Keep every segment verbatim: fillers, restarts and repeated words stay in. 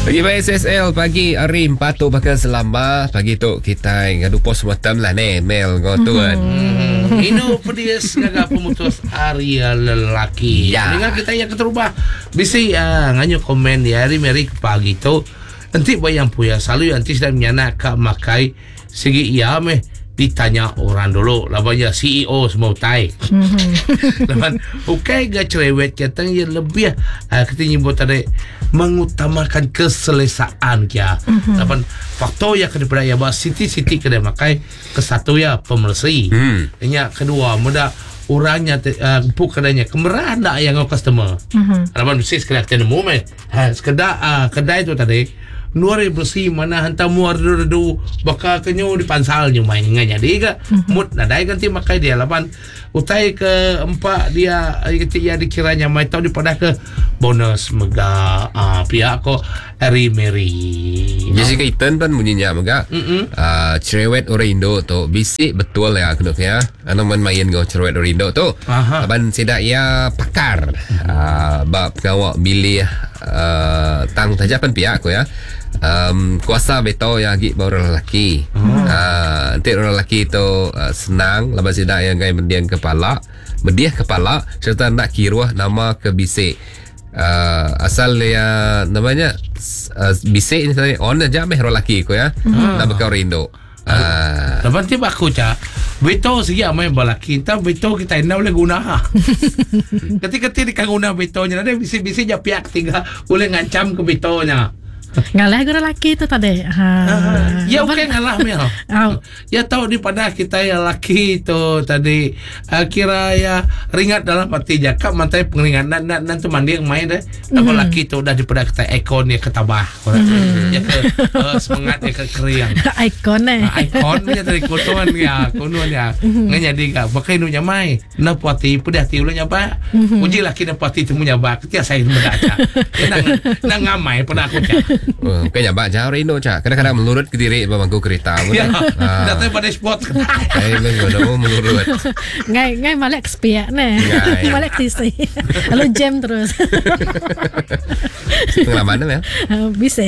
Pagi ba S S L pagi hari empat tu bakal selama pagi tu kita ngadu postmortem lah ni mail ngau tu kan. Hmm. Inu pedis ngaga pemutus hari lelaki. Ya. Dengar kita yang keterubah bisi uh, nganyu komen di hari Mary pagi tu. Enti bayang puya selalu anti sedang menyana ka makai segi iya meh ditanya orang dulu laban ya C E O semua utai. Laban ukai ga cerewet kita yang lebih uh, kita nyebut tadi mengutamakan keselesaan kia. Laban faktor yang kena ya bah siti-siti kena makai kesatu ya pemersi. Hmm. Nya kedua muda orangnya uh, puk kedainya kemerah ndak yang ngau customer. Laban mesti sekadar kita nemu meh. Ha, sekedar uh, kedai tu tadi nuari bersih mana hantar muar redu bakal kenyu di pansal nyu main ngan jadi ke mood nadai ganti makai dia laban utai ke empat dia ketik ya dikiranya mai tau dipadah ke bonus mega uh, pihak ko Harry Mary. Jessica Ethan pun bunyinya mega. Uh, cerewet orang Indo tu bisik betul ya kena ya. Anu main-main go cerewet orang Indo tu. Laban sidak ya pakar. Uh, bab pengawak milih uh, tang saja pun pihak ko ya. Um, kuasa veto yang lagi baru lelaki. Hmm. Uh, nanti orang lelaki tu uh, senang laban sidak yang gai mendiang kepala, mediah kepala serta nak kiruh nama ke bisik. Uh, asal ya namanya uh, bisik ni tadi on aja meh orang lelaki ko ya. Hmm. Nak bekau rindu. Ah. Lepas tu aku cak veto segi amai balaki entah veto kita ina boleh guna. Ketika-ketika dia guna vetonya ada bisik-bisik je pihak ketiga boleh ngancam ke vetonya. Ngalah guna laki tu tadi. Ha. Ya bukan ngalah mel. Oh. Ya tahu di pada kita yang laki tu tadi uh, kira ya ringat dalam hati jakap mantai pengeringan nan nan nan tu mandi yang main deh. Tapi Mm-hmm. laki tu dah di pada kita ikon ya ketabah. Mm-hmm. Ya ke uh, semangat ya ke keriang. Ikon eh. Uh, ikon punya tadi kutuan ya, kunuan ya. Mm-hmm. Ngan jadi gak pakai nu nyamai. Na puati pedih hati ulah nyapa. Mm-hmm. Uji laki na puati temu nyaba. Ketia saya mendak. Nang nang ngamai pada aku cak. Oh, bukan nyabak jauh Rino cak. Kadang-kadang melurut ke diri bangku kereta. Ya, Ah. datang pada spot. Eh, belum melurut. Ngai ngai malek sepiak ne. Ngai. Malek tisi. Lalu jam terus. Pengalaman ya? Bisa.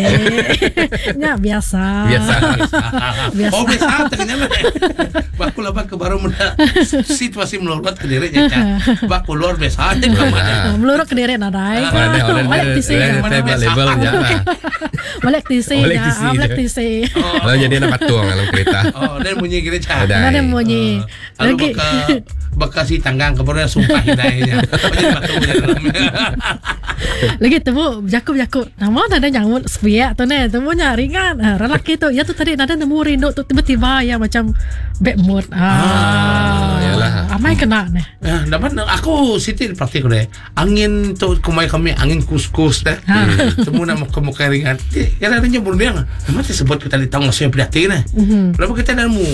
Ya biasa. Biasa. Biasa. Oh biasa ternyata. Baku lah baku baru menda situasi melurut ke dirinya cak. Baku luar biasa aja ke mana. Melurut ke diri nadai. Oh, ada ada Malek tisi. ada labelnya. Malek tisi. Malek tisi. Malek tisi. Lalu jadi anak patung dalam kereta. Oh, dan bunyi gini cak. Ada. Ada bunyi. Lalu Lagi. baka baka si tanggang kemudian sumpah hidayahnya. Lagi temu jakub-jakub. Nama ada nyamut sepiak tu ne. Temu nya ringan. Ha, lelaki tu ya tu tadi nada nemu rindu tu tiba-tiba ya macam bad mood. Ah. Yalah. Amai kena ne. Ah, dapat aku siti praktik deh. Angin tu kumai kami angin kus-kus deh. Temu nak muka muka ringan. Kadang ada nyebur dia. Memang sebut kita di tanggung saya prihatin ne. Lalu kita nemu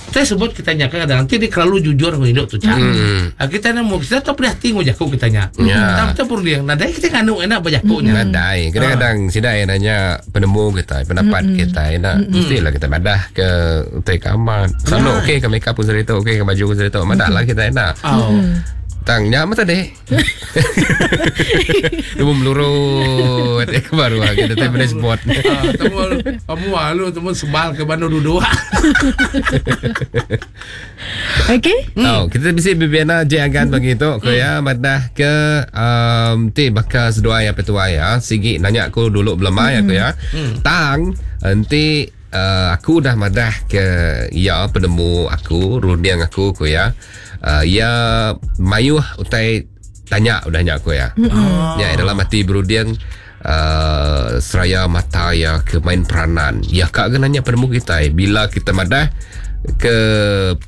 kita sebut kita nyaka kadang nanti dia terlalu jujur dengan hidup tu cak. Hmm. Ah, kita nemu kita tahu prihatin ngujak kita nya. Ya. Tapi kita pun dia nadai kita nganu enak bajakunya. Nadai. Kadang-kadang sidai nanya penemu kita, pendapat kita enak. Mestilah kita madah ke utai kamar. Selalu okey ke makeup pun cerita, okey ke baju pun cerita. Madah lah kita enak. Oh. Tang nyama tadi. Dia pun melurut. Eh, baru lah kita tadi pada spot. Ah, temu kamu malu temu sebal ke bandung duduk. Okey. Oh, kita mesti bibiana je agan begitu ke ya madah ke um, ti bakal seduai apa tuai ya sigi nanya aku dulu belum ya aku ya. Tang nanti uh, aku dah madah ke ya penemu aku runding aku ku ya. Uh, ya mayuh utai tanya udah nyak aku ya. Ya dalam hati berunding uh, seraya mata ya ke main peranan. Ya kak ke nanya penemu kita eh. Bila kita madah ke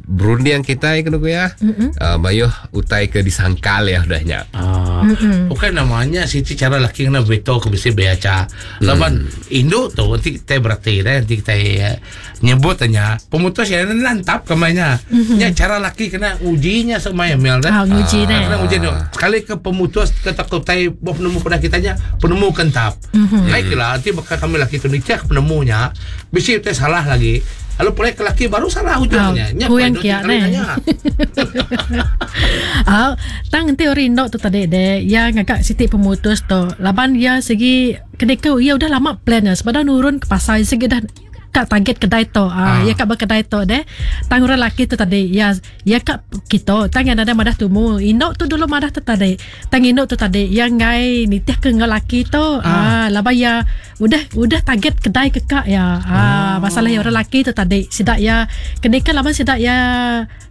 berunding kita eh, kena ku ya. Uh, mayuh utai ke disangkal ya udah nyak. Ah, bukan namanya siti cara laki kena veto ke besi beaca. Laban induk tu nanti kita berarti dah nanti kita eh, nyebut tanya pemutus yang lantap kemanya. Nya cara laki kena ujinya semaya mel dah. Ah, nguji Ah, ne. Kena uji tu. Sekali ke pemutus ke takut tai buah penemu pada kitanya penemu kentap. Baiklah nanti bakal kami laki tu ni cek penemunya. Besi utai salah lagi. Lalu pulai ke laki baru salah ujungnya. Nya Ku yang dua kia tiga kali neh. nanya. Ah, tang enti orang induk tu tadi deh, ya ngagak siti pemutus tu. Laban ya segi kenika ya udah lama plan ya. Sebab dah nurun ke pasar segi dah kat target kedai tu. Ah, Ah. ya kat berkedai tu deh. Tang orang laki tu tadi, ya ya kat kita tang yang ada madah tumu. Induk tu dulu madah tu tadi. Tang induk tu tadi yang ngai nitih ke ngau laki tu. Ah, laban ya udah udah target kedai ke kak ya. Ah, masalah ya orang laki tu tadi. Sidak ya kenika laban sidak ya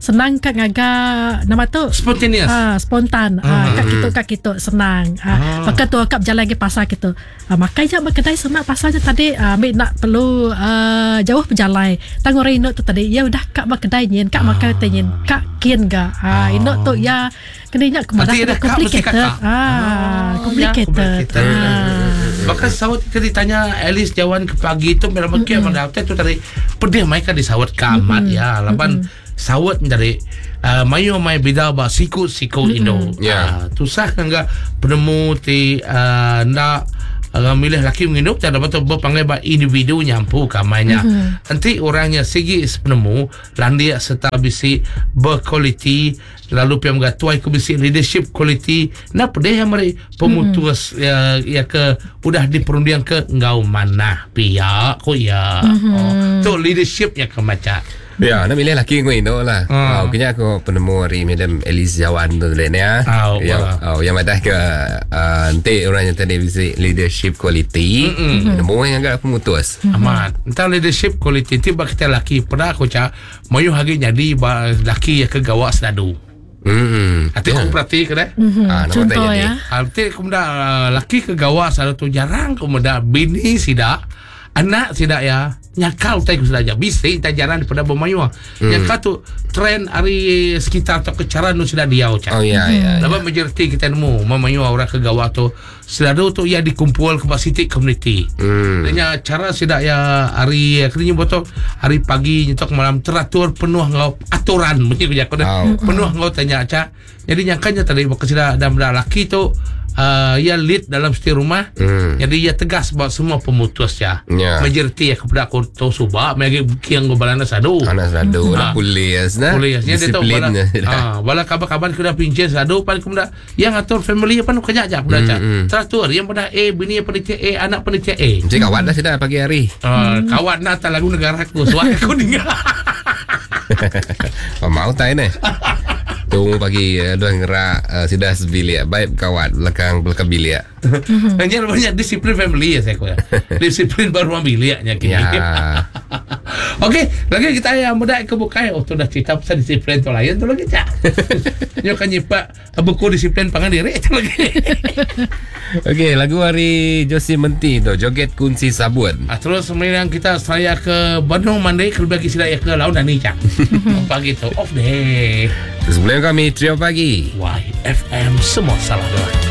senang kat ngagak nama tu Spontaneous. Ah, spontan. Ah, kat kitu kat kitu senang. Ah, maka tu akak berjalan ke pasar kitu. Ah, makai je berkedai semak pasar je tadi. Ah, ambil nak perlu ah, jauh berjalan. Tang orang induk tu tadi, ya udah kak berkedai nyin, kak makan teh nyin, kak kin ga. Ah, induk tu ya kena ingat ke Nanti dah kak mesti complicated. kakak. Ah, complicated. complicated. Ah. Bahkan sawat kita ditanya Alice jawan ke pagi tu memang mm-hmm. mana tu tadi pedih mai kan disawat ke amat ya laban sawat dari uh, mayu mai bida ba siku-siku mm-hmm. Indo. Ya. Ah, tusah kan enggak penemu ti uh, nak uh, milih laki mengindup tak dapat tu berpanggil ba individu nyampu kamainya. Mm-hmm. Nanti orangnya sigi penemu landia serta bisi berkualiti lalu piam ga tuai ku bisi leadership quality na pedih yang meri pemutus mm-hmm. ya, ya ke udah diperundiang ke ngau manah pihak ko ya. Mm-hmm. Oh, tu leadership yang ke macam. Ya, nak milih laki aku induk lah. Ah. Oh, kena aku penemu hari Madam Alice Jawan tu tadi ni ah. Ah, Yang wah. oh, yang madah ke uh, nanti orang yang tadi bisi leadership quality, nemu yang agak pemutus. Amat. Entah leadership quality ti bak kita laki pernah aku cak mayu hari jadi ba laki yang ke gawak sedadu. Hmm. Ati aku perhati ke dah. Mhm. Ah, nama Contoh tak jadi. ya. Ati aku muda uh, laki ke gawak sedadu tu jarang aku muda bini sidak anak sidak ya nyakal utai ku sedaja bisi tak jarang daripada bermayu. Hmm. Nyakal tu trend hari sekitar atau kecara nu sudah diau cak. Oh ya ya. ya. Lepas majoriti kita nemu memayu orang ke gawak tu selalu tu ia dikumpul ke sitik community. Hmm. Dengan cara sidak ya hari kena botol hari pagi nyetok malam teratur penuh ngau aturan bunyi ku jakun Oh. penuh ngau tanya cak. Jadi nyangkanya tadi bakal sidak dan budak laki tu uh, ia lead dalam setiap rumah. Hmm. Jadi ia tegas buat semua pemutus ya. Ya. Majoriti ya kepada aku tu subak magi kiang go balana sadu. Anak sadu Ah. dah polis nah. Boleh ya. Dia tahu bala, Disiplin. ah, bala kabar-kabar kena pincin sadu pan kemudian yang atur family apa nu kerja je aku dah Hmm, hmm. Teratur yang pada A bini yang panitia A anak panitia A. Mesti kawan dah sudah pagi hari. Uh, kawan nak tak lagu negara aku suara aku dengar. Oh, mau tak ni? Tunggu pagi eh, dua ngerak uh, sudah sebilik baik kawan belakang belakang bilik. Hanya banyak disiplin family ya saya kira. Disiplin baru biliknya kini. Ya. Okey, lagi kita yang muda ke bukai. Oh, tu dah cerita pasal disiplin tu lain tu lagi cak. Nyo kan nyipak buku disiplin pangan diri tu lagi. Okey, lagu hari Josie Menti tu Joget Kunci Sabun. Ah, terus sembilan kita saya ke Bandung Mandai kalau bagi sila ya ke Laut dan Cak. Pagi tu off day. Sebelum kami trio pagi. Y F M semua salah doang.